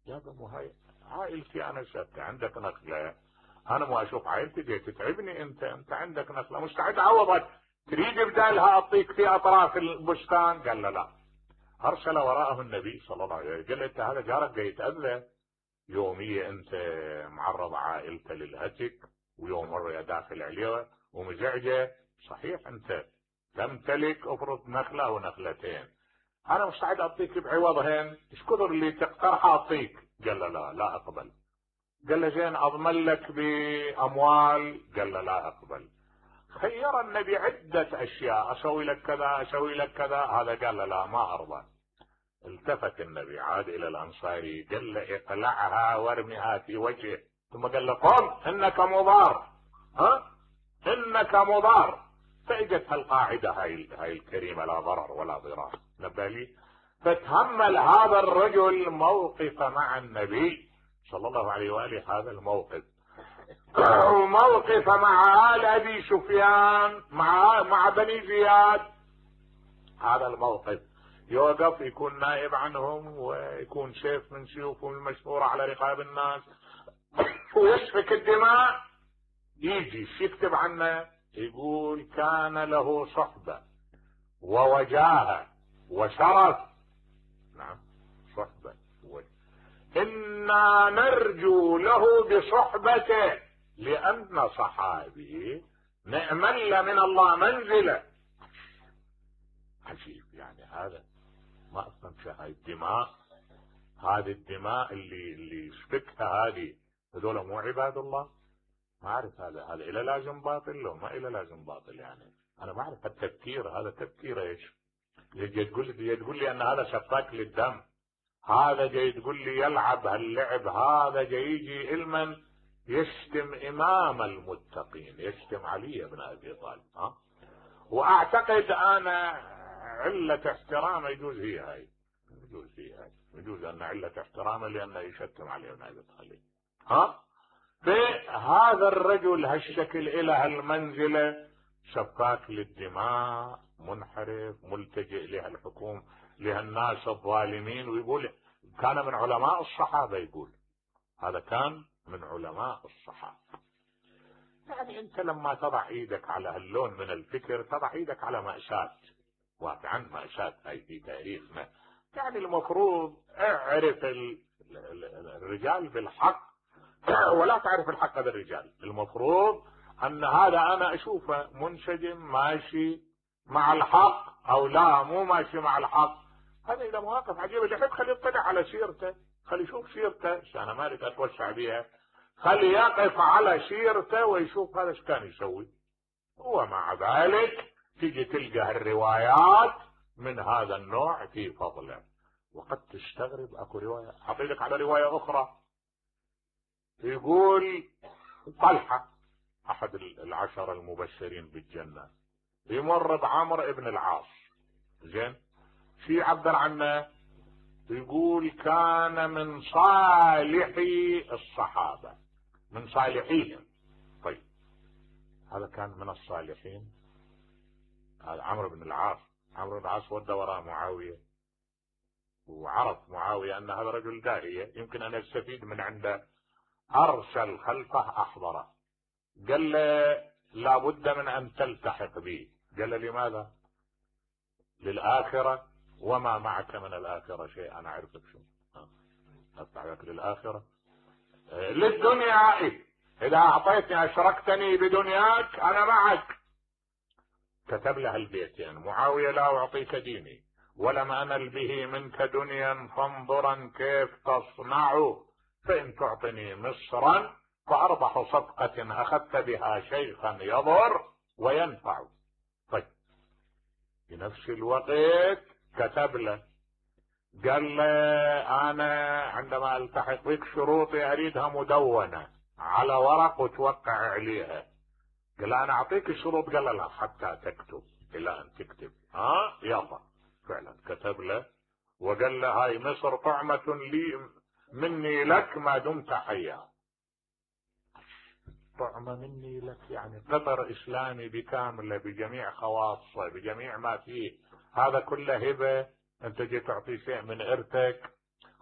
يا مو هاي عائلتي انا شفت عندك نخله، انا ما اشوف عائلتي دي تتعبني، انت عندك نخله مستعد اعوضك، تريد بدالها اعطيك في اطراف البستان؟ قال له لا. ارسل وراءه النبي صلى الله عليه وسلم، قال له انت هذا جارك جاي يتاذى، يوميه انت معرض عائلته للهتك، ويوم مره داخل عليه ومزعجه، صحيح انت تمتلك افرض نخله او نخلتين، انا مستعد اعطيك بعوضهن، ايش كثر اللي تقترح اعطيك؟ قال له لا اقبل. قال له زين اضمن لك باموال؟ قال له لا اقبل. خير النبي عدة اشياء، اسوي لك كذا اسوي لك كذا، هذا قال له لا ما ارضى. التفت النبي عاد الى الانصاري قال له اقلعها وارمها في وجهه، ثم قال له قم انك مضار، انك مضار. فاجت القاعده هاي الكريمه، لا ضرر ولا ضرار، نبالي. فتهمل هذا الرجل موقف مع النبي صلى الله عليه واله، هذا الموقف وموقف مع آل ابي سفيان مع بني زياد، هذا الموقف يوقف يكون نائب عنهم ويكون سيف من سيوفهم المشهورة على رقاب الناس ويسفك الدماء. يجي يكتب عنه يقول كان له صحبة ووجاهة وشرف، نعم صحبة إنا نرجو له بصحبته لأن صحابي نأمل من الله منزله. عجيب يعني هذا، ما أفهم هاي الدماء، هذه الدماء اللي يسفكها هذه، هذول مو عباد الله؟ ما أعرف هذا إلى لازم باطل لو ما إلى لازم باطل، يعني أنا ما أعرف التفكير هذا تفكير إيش؟ جاي تقول لي أن هذا سفاك للدم، هذا جاي تقول لي يلعب هاللعب، هذا جاي يجي علما يشتم إمام المتقين، يشتم علي بن أبي طالب. وأعتقد أنا علة احترامه يجوز هي هاي، يجوز أن علة احترامه لأنه يشتم علي بن أبي طالب. فهذا الرجل هالشكل إلى هالمنزلة، سفاك للدماء، منحرف، ملتجئ لها الحكومة، لها الناس الظالمين، ويقول كان من علماء الصحابة، يقول هذا كان من علماء الصحابة. يعني انت لما تضع ايدك على هاللون من الفكر تضع ايدك على مأساة، واقعا مأساة هاي في تاريخنا. يعني المفروض اعرف الرجال بالحق ولا تعرف الحق بالرجال. المفروض ان هذا انا اشوفه منسجم ماشي مع الحق او لا مو ماشي مع الحق، هذا اذا مواقف عجيبه. اللي يحب خليه يطلع على سيرته، خليه يشوف سيرته، انا ما اريد اتوسع بها، خليه يقف على سيرته ويشوف هذا ايش كان يسوي. ومع ذلك تيجي تلقى الروايات من هذا النوع في فضله، وقد تستغرب. اكو روايه اعطيك على روايه اخرى، يقول طلحه احد العشر المبشرين بالجنه يمر بعمر ابن العاص، زين في عبر عنه، يقول كان من صالحي الصحابه، من صالحيهم. طيب هذا كان من الصالحين، هذا عمرو بن العاص. عمرو بن العاص ودى وراء معاويه، وعرف معاويه ان هذا رجل داعيه يمكن ان يستفيد من عنده، ارسل خلفه احضره، قال له لابد من ان تلتحق بي. قال له لماذا؟ للآخرة. وما معك من الآخرة شيء؟ انا اعرفك شو افتحك للآخرة. للدنيا اذا اعطيتني اشركتني بدنياك انا معك. كتب له البيتين، معاوية لا اعطيك ديني ولم انل به منك دنيا فانظرا كيف تصنع، فان تعطني مصرا فاربح صفقة اخذت بها شيخا يضر وينفع. طيب في نفس الوقت كتب له قال له انا عندما التحق بك شروطي اريدها مدونة على ورق وتوقع عليها. قال له انا اعطيك الشروط، قال له لا حتى تكتب، الى ان تكتب يلا. فعلا كتب له وقال له هاي مصر طعمة لي مني لك ما دمت حيا. طعمة مني لك يعني قطر اسلامي بكامله بجميع خواصه بجميع ما فيه، هذا كله هبه. انت جيت تعطي شيء من ارثك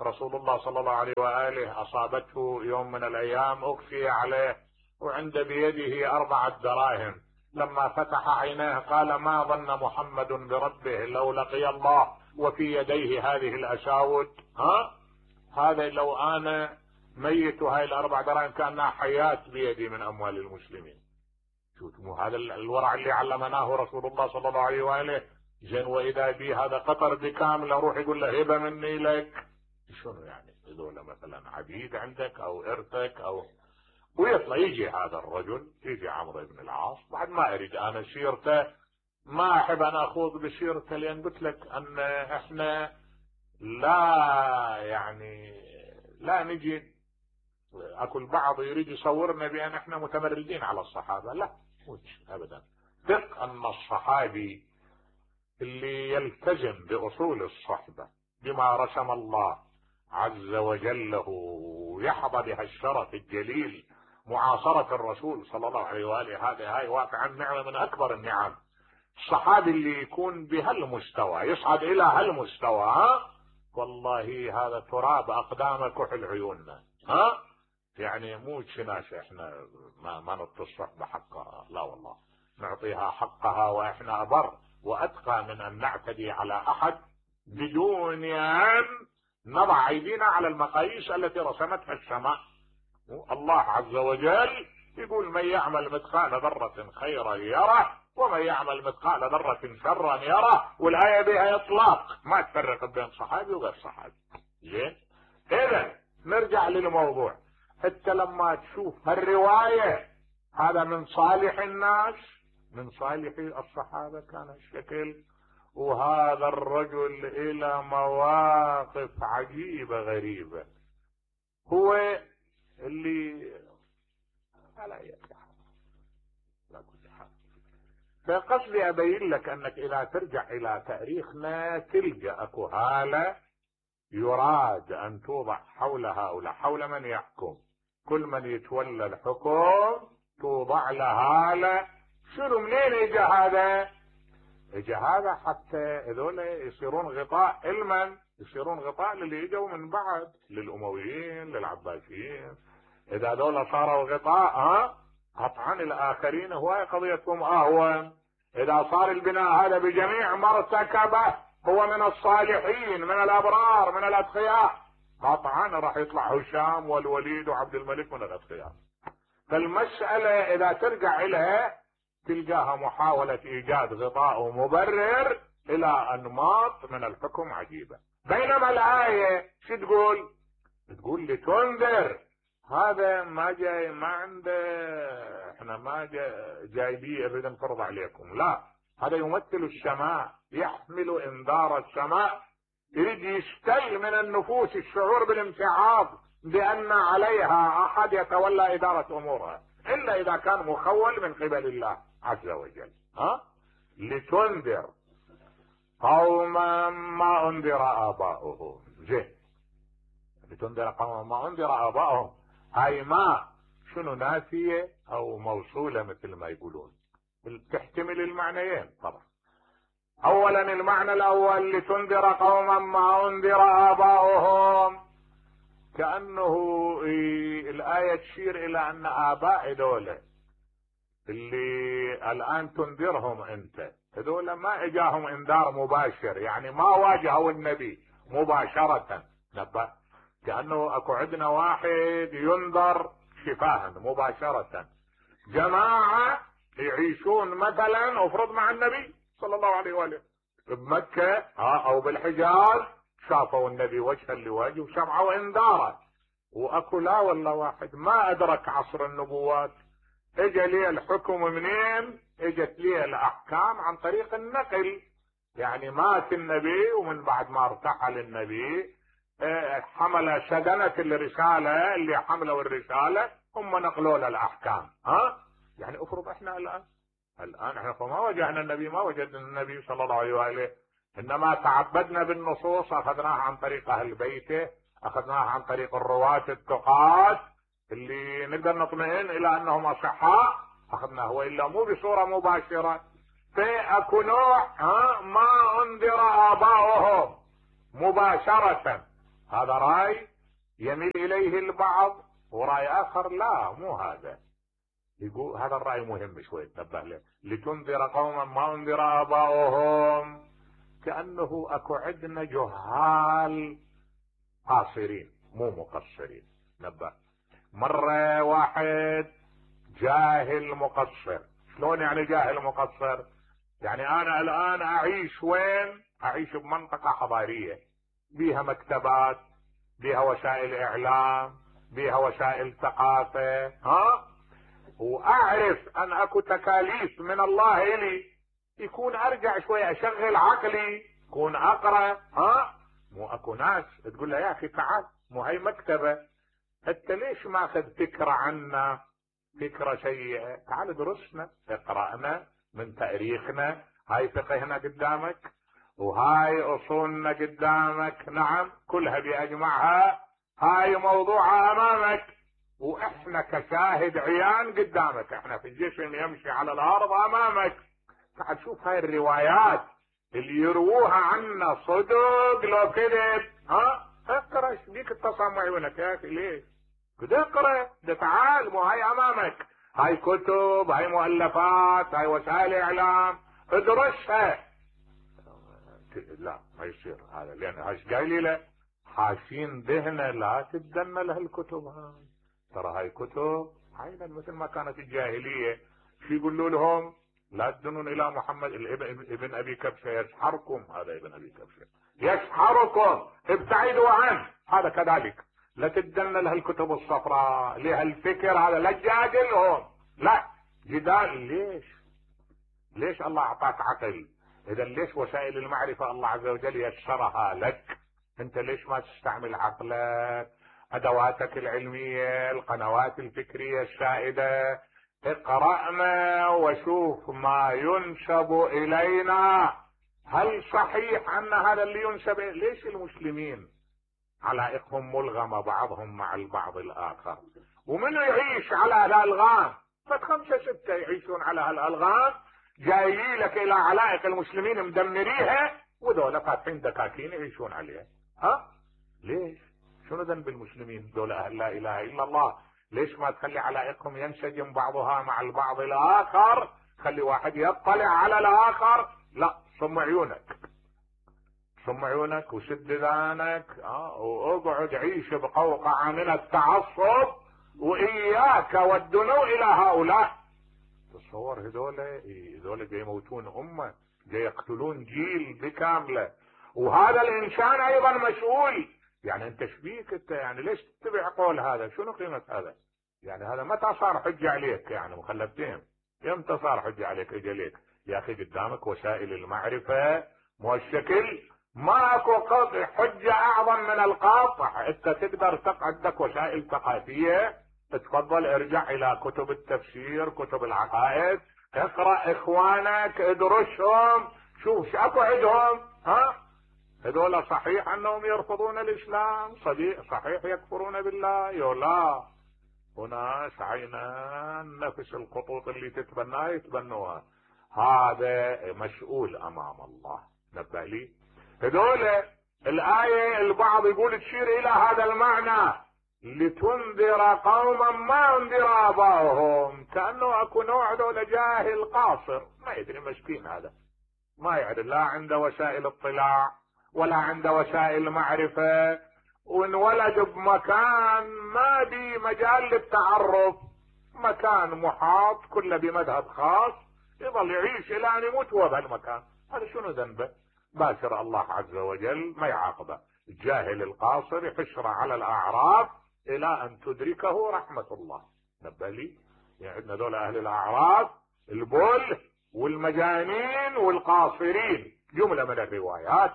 رسول الله صلى الله عليه وآله أصابته يوم من الأيام أغشي عليه وعند بيده 4 دراهم، لما فتح عينيه قال ما ظن محمد بربه لو لقي الله وفي يديه هذه الأشاوت؟ هذا لو أنا ميت وهاي ال4 دراهم كأنها حياة بيدي من أموال المسلمين. شوفوا هذا الورع اللي علمناه رسول الله صلى الله عليه وآله. زين وإذا بي هذا قطر بكامل اروح يقول له هبة مني لك، شنو يعني؟ هذول مثلا عبيد عندك او ارثك او، ويطلع يجي هذا الرجل، يجي عمرو بن العاص، بعد ما اريد انا سيرته، ما احب انا اخوض بسيرته، لان قلت لك ان احنا لا نجي، اكو البعض يريد يصورنا بان احنا متمردين على الصحابة، لا مش ابدا. ثق ان الصحابي اللي يلتزم بأصول الصحبة بما رسم الله عز وجل له ويحظى بها الشرف الجليل معاصرة الرسول صلى الله عليه وآله، هاي واقعا نعمة من أكبر النعم. الصحابي اللي يكون بهالمستوى يصعد إلى هالمستوى، والله هذا تراب أقدام كحل عيوننا. يعني مو ناس احنا ما نعطي الصحبة حقها، لا والله نعطيها حقها، واحنا أبر وأتقى من أن نعتدي على أحد بدون أن نضع أيدينا على المقاييس التي رسمتها السماء. الله عز وجل يقول من يعمل مثقال ذرة خيرا يره ومن يعمل مثقال ذرة شرا يره، والآية بها إطلاق، ما تفرق بين صحابي وغير صحابي. زين، إذا نرجع للموضوع. حتى لما تشوف هالرواية هذا من صالح الناس، من صالح الصحابة كان الشكل، وهذا الرجل إلى مواقف عجيبة غريبة، هو اللي على أي حال لا كل حال. فقصدي أبين لك أنك إذا ترجع إلى تاريخنا تلقى أكو هالة يراد أن توضع حول هؤلاء، حول من يحكم، كل من يتولى الحكم توضع له هالة. شنو منين اجى هذا؟ اجى هذا حتى هذول يصيرون غطاء علما، يصيرون غطاء للي اجوا من بعد، للامويين للعباسيين. اذا هذول صاروا غطاء قطعا الاخرين هواي قضيتهم اهون. اذا صار البناء هذا بجميع مرتكبه هو من الصالحين من الابرار من الاتقياء، قطعا راح يطلع هشام والوليد وعبد الملك من الاتقياء. فالمسألة اذا ترجع اليها تلقاها محاولة ايجاد غطاء ومبرر الى انماط من الحكم عجيبة. بينما الآية شو تقول؟ تقول لتنذر. هذا ما جاي، ما عنده، احنا ما جايبيه نريد نفرض عليكم، لا، هذا يمثل السماء، يحمل انذار السماء، يريد يستل من النفوس الشعور بالامتعاض بان عليها احد يتولى ادارة امورها، الا اذا كان مخول من قبل الله عز وجل. لتنذر قوما ما انذر اباؤهم. زين، لتنذر قوما ما انذر اباؤهم، هاي ما شنو نافية او موصولة مثل ما يقولون، تحتمل المعنيين طبعا. اولا المعنى الاول لتنذر قوما ما انذر اباؤهم، كأنه الآية تشير الى ان اباء دولة اللي الان تنذرهم انت، هذول ما اجاهم انذار مباشر، يعني ما واجهوا النبي مباشرة، نبه كأنه اكو عندنا واحد ينذر شفاها مباشرة، جماعة يعيشون مثلا افرض مع النبي صلى الله عليه وآله بمكة او بالحجاز، شافوا النبي وجها لوجه وسمعوا انذاره، واكو لا والله واحد ما ادرك عصر النبوات، اجى لي الحكم منين؟ اجت لي الاحكام عن طريق النقل، يعني مات النبي ومن بعد ما ارتحل النبي حمل سدنة الرسالة، اللي حملوا الرسالة هم نقلوا له الاحكام. يعني افرض احنا الان احنا فما وجهنا النبي، ما وجدنا النبي صلى الله عليه وآله، انما تعبدنا بالنصوص، اخذناها عن طريق اهل بيته، اخذناها عن طريق الرواة التقاة اللي نقدر نطمئن الى انهم اصحاء، اخذناه، والا مو بصورة مباشرة. فاكو نوع ما انذر اباؤهم مباشرة، هذا رأي يميل اليه البعض ورأي اخر لا مو هذا. يقول هذا الرأي مهم شوي تنبه له، لتنذر قوما ما انذر اباؤهم. كأنه اكو عندنا جهال قاصرين مو مقصرين. نبه، مرة واحد جاهل مقصر. شلون يعني جاهل مقصر؟ يعني انا الان اعيش وين؟ اعيش بمنطقة حضارية بيها مكتبات، بيها وسائل اعلام، بيها وسائل ثقافة، واعرف ان اكو تكاليف من الله الي، يكون ارجع شوية اشغل عقلي، يكون اقرأ. مو اكو ناس تقول له يا اخي تعال، مو هي مكتبة، انت ليش ماخذ فكرة عنا، فكرة سيئة؟ تعال درسنا، اقرأنا من تاريخنا، هاي فقهنا قدامك وهاي اصولنا قدامك، نعم كلها باجمعها، هاي موضوعها امامك، واحنا كشاهد عيان قدامك، احنا في الجسم يمشي على الارض امامك. تعال شوف هاي الروايات اللي يرووها عنا صدق لو كذب. اقرا ايش بيك اتصل عيونك يا اخي ليش؟ كده اقرا، ده تعال، مو هاي امامك، هاي كتب، هاي مؤلفات، هاي وسائل اعلام، ادرسها. لا ما يصير هذا، لان هاش قايل له حاشين ذهنه لا تدن له الكتب هاي، ترى هاي كتب عينا مثل ما كانت الجاهليه. شو يقولوا لهم؟ لا تدنون الى محمد ابن ابي كبشه يسحركم، هذا ابن ابي كبشه يسحركم، ابتعدوا عنه، هذا كذلك. لا تدن له الكتب الصفراء، لها الفكر هذا، لا تجادلهم، لا جدال. ليش الله اعطاك عقل؟ اذا ليش وسائل المعرفة الله عز وجل يسرها لك؟ انت ليش ما تستعمل عقلك، ادواتك العلمية، القنوات الفكرية السائدة؟ اقرأنا وشوف ما ينسب الينا، هل صحيح ان هذا اللي ينسب؟ ليش المسلمين علائقهم ملغمة بعضهم مع البعض الاخر؟ ومن يعيش على هالالغام؟ فخمسة ستة يعيشون على هالالغام، جايين لك الى علائق المسلمين مدمريها، وذولا فاتحين دكاكين يعيشون عليها. ليش؟ شنو ذنب المسلمين دول اهل لا اله الا الله؟ ليش ما تخلي علائقهم ينسجم بعضها مع البعض الاخر؟ خلي واحد يطلع على الاخر. لا، صم عيونك، صم عيونك وسد ذانك، واقعد عيش بقوقعة من التعصب، واياك والدنو الى هؤلاء. تصور هذول جاي يموتون امه، جاي يقتلون جيل بكامله، وهذا الانسان ايضا مسؤول. يعني انت شبيك انت؟ يعني ليش تتبع قول هذا؟ شنو قيمة هذا؟ يعني هذا متى صار حجة عليك؟ يعني مخلفتين، امتى صار حجة عليك؟ اجليك يا اخي قدامك وسائل المعرفة مو الشكل، ماكو حجة اعظم من القاطع. انت تقدر عندك وسائل ثقافية، تفضل ارجع الى كتب التفسير، كتب العقائد، اقرأ اخوانك، ادرسهم، شوف شو اكو عندهم. هذول صحيح انهم يرفضون الاسلام، صحيح يكفرون بالله، لا وناس عينان نفس الخطوط اللي تتبناها يتبنوها، هذا مسؤول امام الله. نبه لي هذول الايه البعض يقول تشير الى هذا المعنى، لتنذر قوما ما انذر اباؤهم، كانه اكو نوع دول جاهل قاصر ما يدري، مسكين هذا ما يعرف، لا عنده وسائل اطلاع ولا عنده وسائل معرفة، وانولد بمكان ما بي مجال للتعرف، مكان محاط كله بمذهب خاص، يظل يعيش الى ان يموت هو بهالمكان. هذا شنو ذنبه؟ باشر الله عز وجل ما يعاقبه. الجاهل القاصر يحشر على الاعراف الى ان تدركه رحمة الله. نبه لي، يعني عندنا دول اهل الاعراف البل والمجانين والقاصرين، جملة من الروايات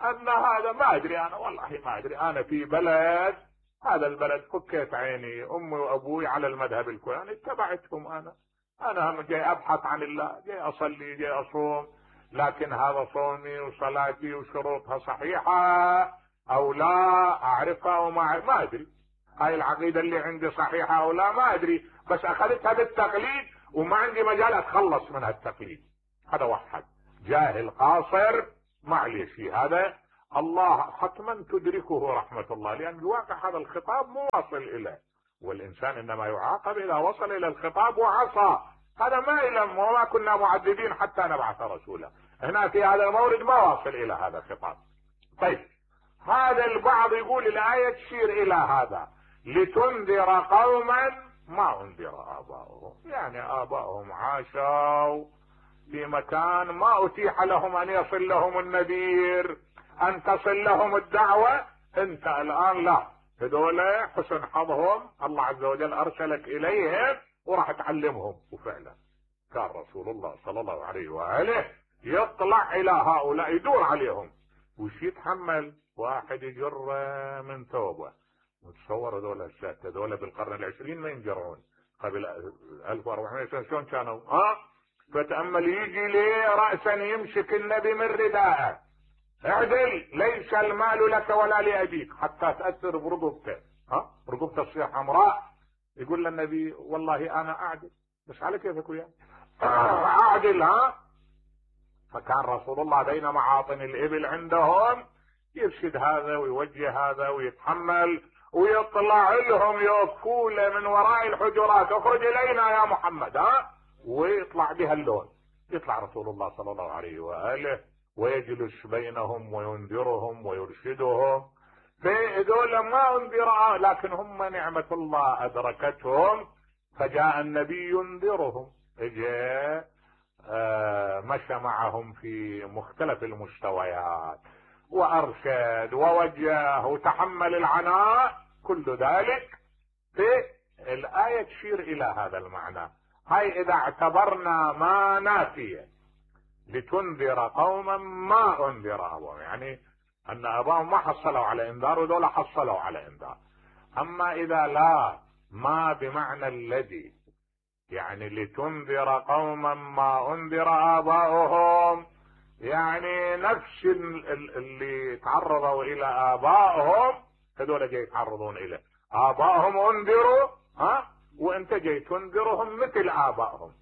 ان هذا ما ادري، انا والله ما ادري، انا في بلد، هذا البلد فكيت عيني، امي وابوي على المذهب الفلاني اتبعتهم، انا هم جاي ابحث عن الله، جاي اصلي، جاي اصوم، لكن هذا صومي وصلاتي وشروطها صحيحة او لا، اعرفها ما ادري، هاي العقيدة اللي عندي صحيحة او لا ما ادري، بس اخذتها بالتقليد وما عندي مجال اتخلص من هالتقليد. هذا واحد جاهل قاصر، معليش في هذا الله حتما تدركه رحمة الله، لأن الواقع هذا الخطاب مو واصل إليه، والإنسان إنما يعاقب إذا وصل إلى الخطاب وعصى. هذا ما إلم، وما كنا معذبين حتى نبعث رسولا. هنا في هذا المورد ما واصل إلى هذا الخطاب. طيب، هذا البعض يقول الآية تشير إلى هذا، لتنذر قوما ما انذر آباؤهم، يعني آباؤهم عاشوا في مكان ما أتيح لهم أن يصل لهم النذير، أن تصل لهم الدعوة. أنت الآن لا، هذول حسن حظهم، الله عز وجل أرسلك إليهم وراح تعلمهم. وفعلا كان رسول الله صلى الله عليه وآله يطلع إلى هؤلاء يدور عليهم، وش يتحمل؟ واحد يجر من ثوبه. متصور هذول بالقرن العشرين ما ينجرون، قبل 1400 سنة شلون كانوا؟ فتأمل، يجي ليه رأسا يمسك النبي من رداءه، اعدل، ليس المال لك ولا لأبيك، حتى تأثر برقبته، رقبته تصير حمراء. يقول للنبي والله أنا أعدل، بس على كيفك وياه أعدل. فكان رسول الله بين معاطن الإبل عندهم يرشد هذا ويوجه هذا ويتحمل، ويطلع لهم يوقفون من وراء الحجرات، اخرج إلينا يا محمد، ويطلع بها اللون. يطلع رسول الله صلى الله عليه وآله ويجلس بينهم وينذرهم ويرشدهم. فهذول ما انذر، لكن هم نعمة الله أدركتهم، فجاء النبي ينذرهم، جاء مشى معهم في مختلف المستويات وأرشد ووجه وتحمل العناء. كل ذلك في الآية تشير إلى هذا المعنى. هاي إذا اعتبرنا ما نافية، لتنذر قوما ما انذر أبوهم، يعني أن أباهم ما حصلوا على إنذار ودول حصلوا على إنذار. أما إذا لا، ما بمعنى الذي، يعني لتنذر قوما ما انذر آباؤهم، يعني نفس اللي تعرضوا إلى آبائهم هذول جاي يتعرضون إليه. آبائهم انذروا، وانت جاي تنذرهم مثل آبائهم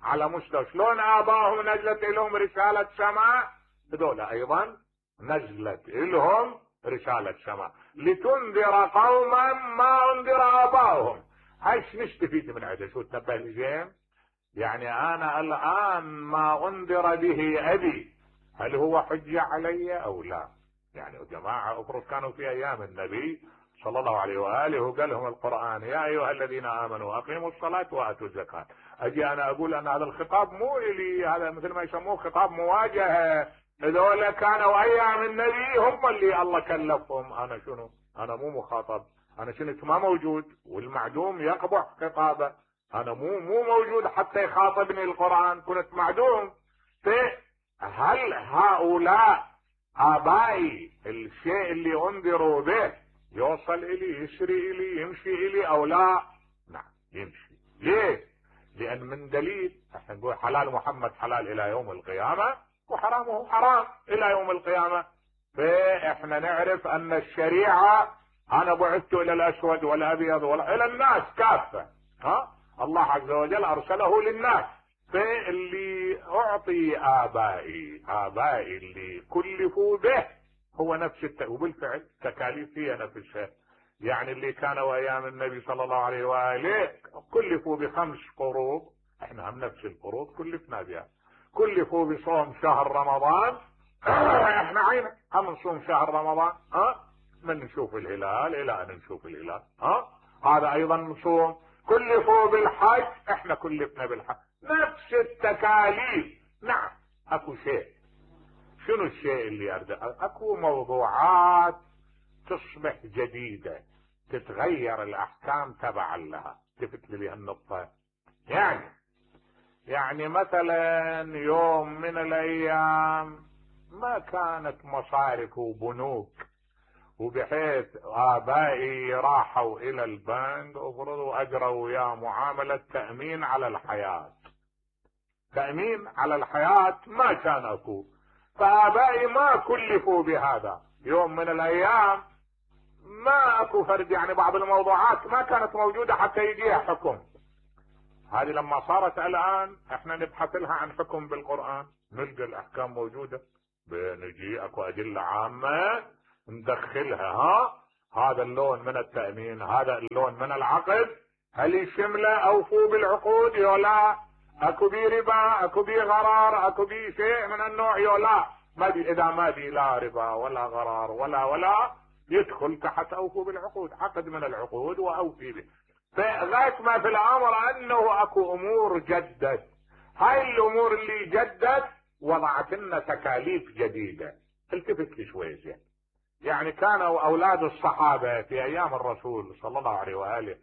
على مستوى. شلون آبائهم نزلت لهم رسالة سماء، هذول أيضا نزلت لهم رسالة سماء. لتنذر قوما ما انذر آبائهم، هايش نستفيد من هذا؟ شو تنبه لزين؟ يعني أنا الآن ما انذر به أبي، هل هو حجة علي أو لا؟ يعني يا جماعة افرض كانوا في أيام النبي صلى الله عليه وآله وقال لهم القرآن يا أيها الذين آمنوا أقيموا الصلاة وآتوا الزكاة، أجي أنا أقول أن هذا الخطاب مو إلي، هذا مثل ما يسموه خطاب مواجهة. هذول كانوا أيام النبي هم اللي الله كلفهم، أنا شنو؟ أنا مو مخاطب، أنا كنت ما موجود، والمعدوم يقبح خطابه، أنا مو موجود حتى يخاطبني القرآن، كنت معدوم. هل هؤلاء آبائي الشيء اللي انذروا به يوصل إلي، يسري إلي، يمشي إلي أو لا؟ نعم يمشي. ليه؟ لأن من دليل احنا نقول حلال محمد حلال إلى يوم القيامة، وحرامه حرام إلى يوم القيامة. فاحنا نعرف أن الشريعة أنا بعثت إلى الأسود والأبيض إلى الناس كافة، الله عز وجل أرسله للناس. فاللي أعطي آبائي اللي كلفوا به هو نفس وبالفعل تكاليف هي نفسها. يعني اللي كانوا أيام النبي صلى الله عليه وآله كلفوا ب5 فروض، احنا هم نفس الفروض كلفنا بها. كلفوا بصوم شهر رمضان، احنا عينك هم نصوم شهر رمضان، من نشوف الهلال إلى أن نشوف الهلال، هذا أيضا نصوم. كلفوا بالحج، احنا كلفنا بالحج، نفس التكاليف. نعم اكو شيء، شنو الشيء اللي اكو موضوعات تصبح جديدة، تتغير الاحكام تبعا لها. تفت لي النقطة؟ يعني مثلا يوم من الايام ما كانت مصارف وبنوك، وبحيث آبائي راحوا إلى البنك وفرضوا أجروا وياه معاملة تأمين على الحياة. تأمين على الحياة ما كان أكو، فآبائي ما كلفوا بهذا. يوم من الأيام ما أكو فرد، يعني بعض الموضوعات ما كانت موجودة حتى يجيها حكم. هذه لما صارت الآن احنا نبحث لها عن حكم بالقرآن، نلقى الأحكام موجودة. بنجي اكو ادله عامه ندخلها. هذا اللون من التامين، هذا اللون من العقد، هل يشمله اوفوا بالعقود يولا؟ اكو بي ربا، اكو بي غرار، اكو بي شيء من النوع يولا؟ ما بي، اذا ما بي لا ربا ولا غرار ولا يدخل تحت اوفوا بالعقود، عقد من العقود واوفي به. فغايه ما في الامر انه اكو امور جدت. هاي الامور اللي جدت وضعت لنا تكاليف جديده. التفت لي شوي زين. يعني كانوا اولاد الصحابه في ايام الرسول صلى الله عليه واله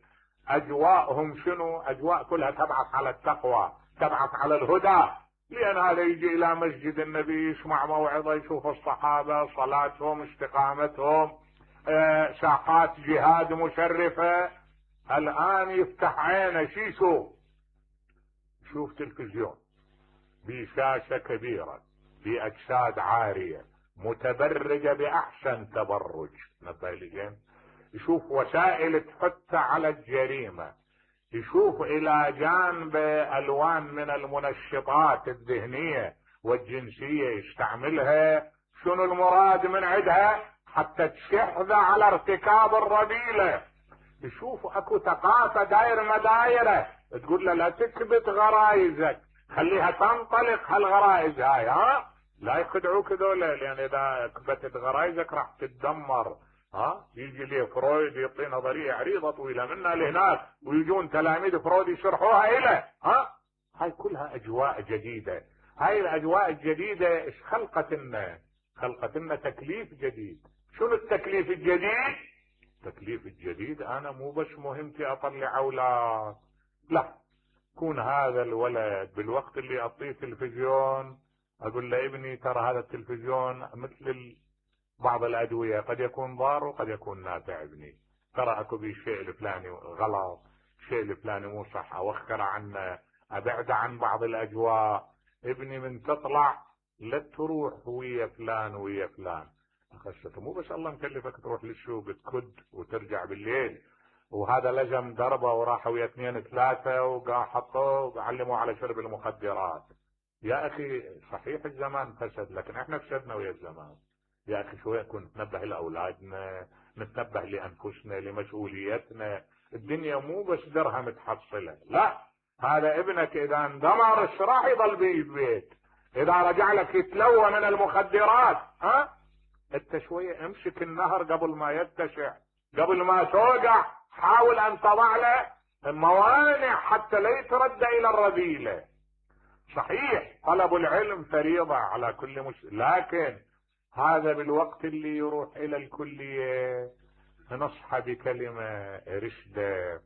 اجواءهم شنو؟ اجواء كلها تبعث على التقوى، تبعث على الهدى. لان هذا يجي الى مسجد النبي يسمع موعظه، يشوف الصحابه صلاتهم، استقامتهم، ساحات جهاد مشرفه. الان يفتح عينه شي يشوف تلفزيون بشاشه كبيره باجساد عاريه متبرجه باحسن تبرج، نبه لي، يشوف وسائل تحث على الجريمه، يشوف الى جانب الوان من المنشطات الذهنيه والجنسيه يستعملها. شنو المراد من عندها؟ حتى تشحذ على ارتكاب الرذيله. يشوف اكو ثقافه داير مدايره تقول له لا تكبت غرايزك، خليها تنطلق هالغرائز هاي، لا يخدعوك ذولا، لان اذا كبتت غرايزك راح تتدمر. يجي لي فرويد يعطي نظريه عريضه طويله منا لهناك، ويجون تلاميذ فرويد يشرحوها الى هاي كلها اجواء جديده. هاي الاجواء الجديده ايش خلقت لنا؟ خلقت لنا تكليف جديد. شنو التكليف الجديد؟ التكليف الجديد انا مو بس مهمتي اطلع اولاد، لا، كون هذا الولد بالوقت اللي اعطيه تلفزيون اقول له ابني ترى هذا التلفزيون مثل بعض الادويه، قد يكون ضار وقد يكون نافع. ابني ترى اكو بالشيء الفلاني غلط، الشيء الفلاني مو صح، اوخر عنه، ابعد عن بعض الاجواء. ابني من تطلع لا تروح ويا فلان ويا فلان. خشته مو بس الله مكلفك تروح للسوق تكد وترجع بالليل، وهذا لجم دربه وراح ويا 2 3 وقام حطوه وعلموا على شرب المخدرات. يا اخي صحيح الزمان فسد، لكن احنا فسدنا ويا الزمان. يا اخي شويه كن نتنبه لاولادنا، نتنبه لانفسنا، لمسؤوليتنا. الدنيا مو بس درهم تحصله، لا، هذا ابنك اذا اندمر ايش راح يضل بالبيت؟ اذا رجع لك يتلوى من المخدرات، انت شويه امسك النهر قبل ما يتسع، قبل ما توقع حاول ان تضع له موانع حتى لا يتردى الى الرذيله. صحيح طلب العلم فريضه على كل مسلم، لكن هذا بالوقت اللي يروح الى الكليه نصحى بكلمه رشده،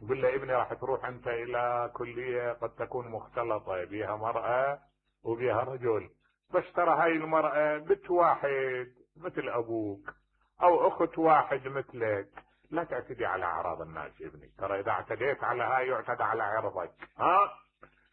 قل له ابني راح تروح انت الى كليه قد تكون مختلطه بها مراه وبها رجل، بس ترى هاي المراه بنت واحد مثل ابوك او اخت واحد مثلك، لا تعتدي على اعراض الناس ابني، ترى اذا اعتديت على هاي يعتدى على عرضك.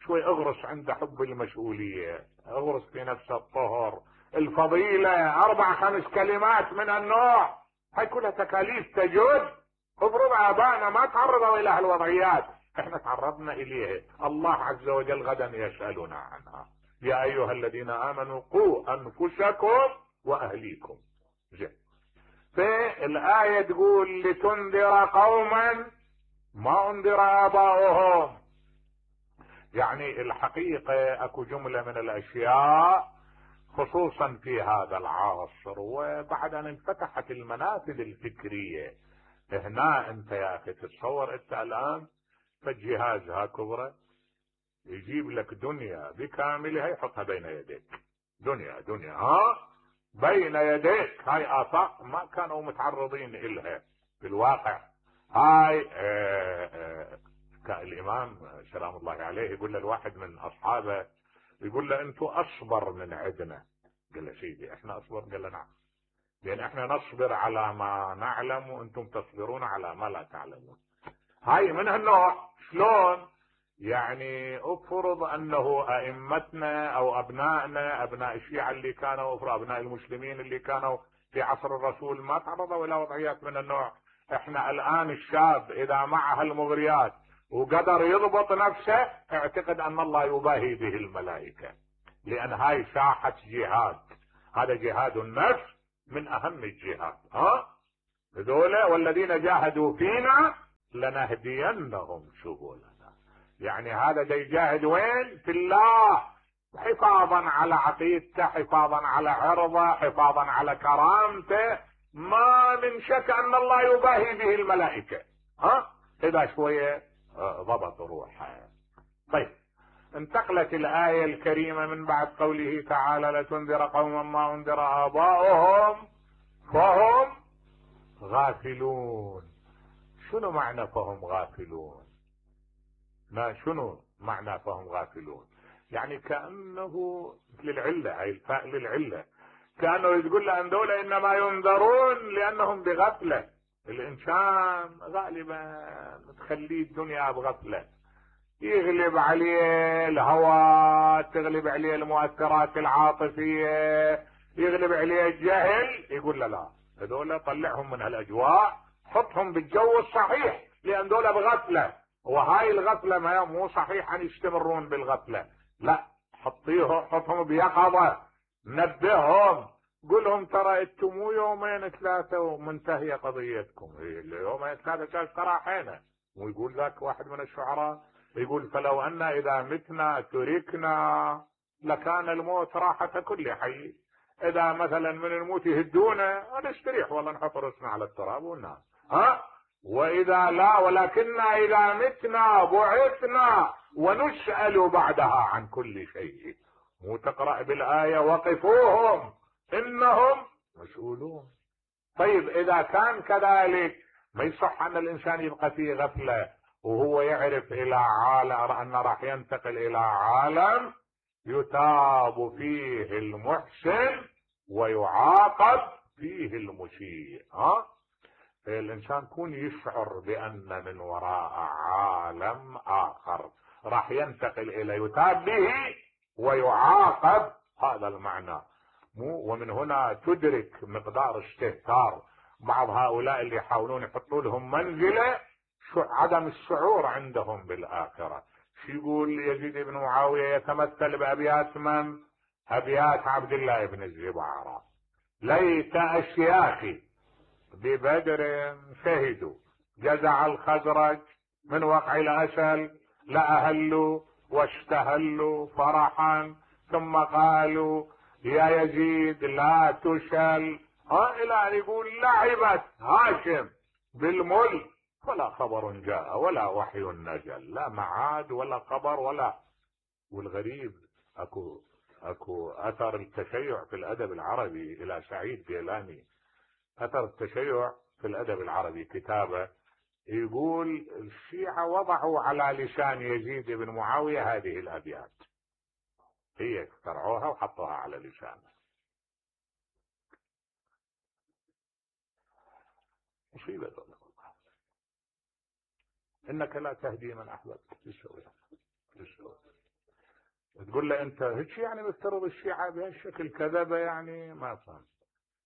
شوي اغرس عند حب المسؤوليه، اغرس في نفس الطهر، الفضيله، 4 5 كلمات من النوع. هاي كلها تكاليف تجد. افرض ابائنا ما تعرضوا الى هالوضعيات، احنا تعرضنا اليها، الله عز وجل غدا يسالنا عنها. يا ايها الذين امنوا قوا انفسكم واهليكم. زين. فالايه تقول لتنذر قوما ما انذر اباؤهم. يعني الحقيقه اكو جمله من الاشياء خصوصا في هذا العصر وبعد ان انفتحت المنافذ الفكريه. هنا انت يا اخي تتصور انت الان فالجهاز ها كبره يجيب لك دنيا بكاملها يحطها بين يديك، دنيا بين يديك. هاي آفاق ما كانوا متعرضين إلها في الواقع. هاي الإمام سلام الله عليه يقول للواحد من أصحابه، يقول له أنتوا أصبر من عندنا. قال له سيدي احنا أصبر؟ قال له نعم، لأن احنا نصبر على ما نعلم وأنتم تصبرون على ما لا تعلمون. هاي من هالنوع. شلون؟ يعني افرض انه ائمتنا او ابنائنا، ابناء الشيعة اللي كانوا، افرض ابناء المسلمين اللي كانوا في عصر الرسول ما تعرضوا الى وضعيات من النوع. احنا الان الشاب اذا معه المغريات وقدر يضبط نفسه اعتقد ان الله يباهي به الملائكة، لان هاي ساحة جهاد. هذا جهاد النفس من اهم الجهاد. هذول والذين جاهدوا فينا لنهدينهم سبلنا. يعني هذا دا يجاهد وين؟ في الله، حفاظا على عقيدته، حفاظا على عرضه، حفاظا على كرامته. ما من شك ان الله يباهي به الملائكة. اذا شوية ضبط روحه. طيب، انتقلت الآية الكريمة من بعد قوله تعالى لتنذر قوما ما انذر آباؤهم فهم غافلون. شنو معنى فهم غافلون؟ ما شنو معنى فهم غافلون؟ يعني كأنه للعلة، هاي الفاء للعلة، كأنه يقول لأن دول إنما ينذرون لأنهم بغفلة. الإنسان غالبا تخليه الدنيا بغفلة، يغلب عليه الهوى، تغلب عليه المؤثرات العاطفية، يغلب عليه الجهل، يقول لا هذول طلعهم من هالأجواء، حطهم بالجو الصحيح، لأن دول بغفلة. وهاي الغفلة ما مو صحيح أن يستمرون بالغفلة، لا، حطهم بيقظة، نبههم، قولهم ترى انتم مو يومين ثلاثة ومنتهية قضيتكم، يومين ثلاثة كاش تراحينا. ويقول ذاك واحد من الشعراء يقول فلو أن إذا متنا تركنا لكان الموت راحة كل حي. إذا مثلا من الموت يهدونا نستريح والله، نحط رأسنا على التراب وننام. وإذا لا، ولكننا إذا متنا بعثنا ونسأل بعدها عن كل شيء. مو تقرأ بالآية وقفوهم إنهم مسؤولون. طيب إذا كان كذلك ما يصح أن الإنسان يبقى في غفلة وهو يعرف إلى عالم أن راح ينتقل إلى عالم يتاب فيه المحسن ويعاقب فيه المسيء. الإنسان يكون يشعر بأن من وراء عالم آخر راح ينتقل إلى يتاب به ويعاقب، هذا المعنى. ومن هنا تدرك مقدار استهتار بعض هؤلاء اللي يحاولون يحطوا لهم منزلة عدم الشعور عندهم بالآخرة. شو يقول يزيد بن معاوية؟ يتمثل بأبيات من؟ أبيات عبد الله بن الزبعرة: ليت أشياخي ببدر شهدوا جزع الخزرج من وقع الأسل لأهلوا واشتهلوا فرحا ثم قالوا يا يزيد لا تشل، إلى أن يقول لعبت هاشم بالملك ولا خبر جاء ولا وحي نزل، لا معاد ولا خبر ولا. والغريب اكو اثر التشيع في الادب العربي الى سعيد جيلاني، اثر التشيع في الادب العربي كتابه يقول الشيعة وضعوا على لسان يزيد بن معاوية هذه الابيات، هي اخترعوها وحطوها على لسانه. مصيبة والله. انك لا تهدي من احببت. تسوي تقول له انت هيك يعني مفترض الشيعة بهالشكل كذبة؟ يعني ما فهم.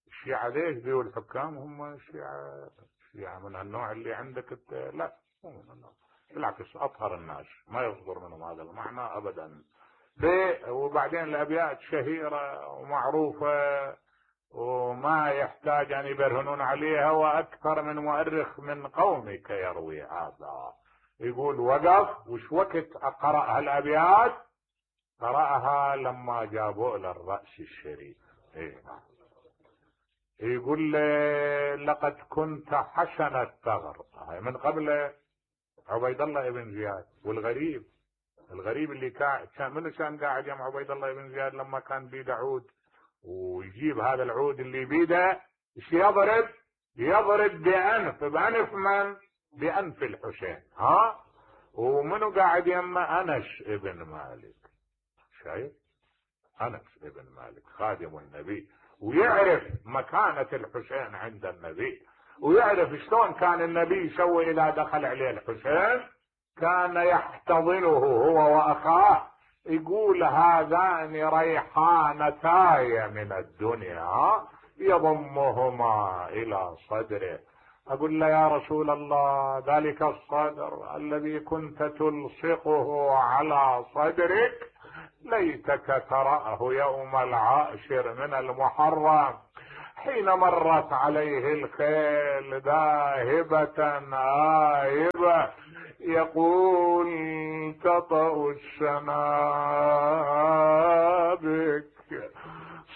الشيعة ليش ذو الحكام هم الشيعة من النوع اللي عندك انت؟ لا، مو من النوع، بالعكس اطهر الناس، ما يصدر منهم هذا المعنى ابدا. وبعدين الابيات شهيرة ومعروفة وما يحتاج ان يبرهنون عليها، واكثر من مؤرخ من قومك يروي هذا. يقول وقف وش وقت قرأ هالابيات؟ قرأها لما جابوا له الرأس الشريف. يقول لقد كنت حسن الثغر، من قبل عبيد الله بن زياد. والغريب اللي كان منو كان قاعد يم عبيد الله بن زياد لما كان بيده عود، ويجيب هذا العود اللي بيده ايش يضرب بأنف من؟ بأنف الحسين. ومنو قاعد يم؟ أنس ابن مالك. شايف؟ أنس ابن مالك خادم النبي، ويعرف مكانة الحسين عند النبي، ويعرف شلون كان النبي يسوي إذا دخل عليه الحسين، كان يحتضنه هو وأخاه، يقول هذان ريحانتاي من الدنيا يضمهما إلى صدره. أقول له يا رسول الله ذلك الصدر الذي كنت تلصقه على صدرك ليتك تراه يوم العاشر من المحرم حين مرت عليه الخيل ذاهبة آهبة يقول تطأ الشنابك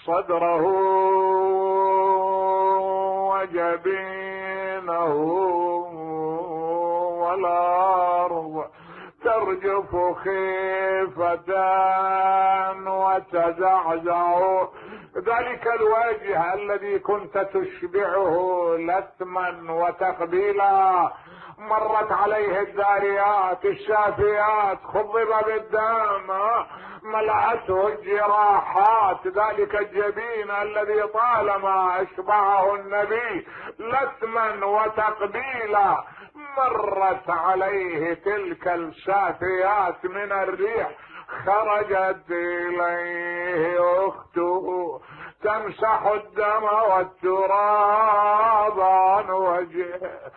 صدره وجبينه والأرض ترجف خيفة وتزعزع. ذلك الوجه الذي كنت تشبعه لثما وتقبيلا مرت عليه الذاريات الشافيات خضب بالدم ملأته الجراحات. ذلك الجبين الذي طالما اشبعه النبي لثما وتقبيلا مرت عليه تلك الشافيات من الريح. خرجت اليه اخته تمسح الدم والتراب عن وجهه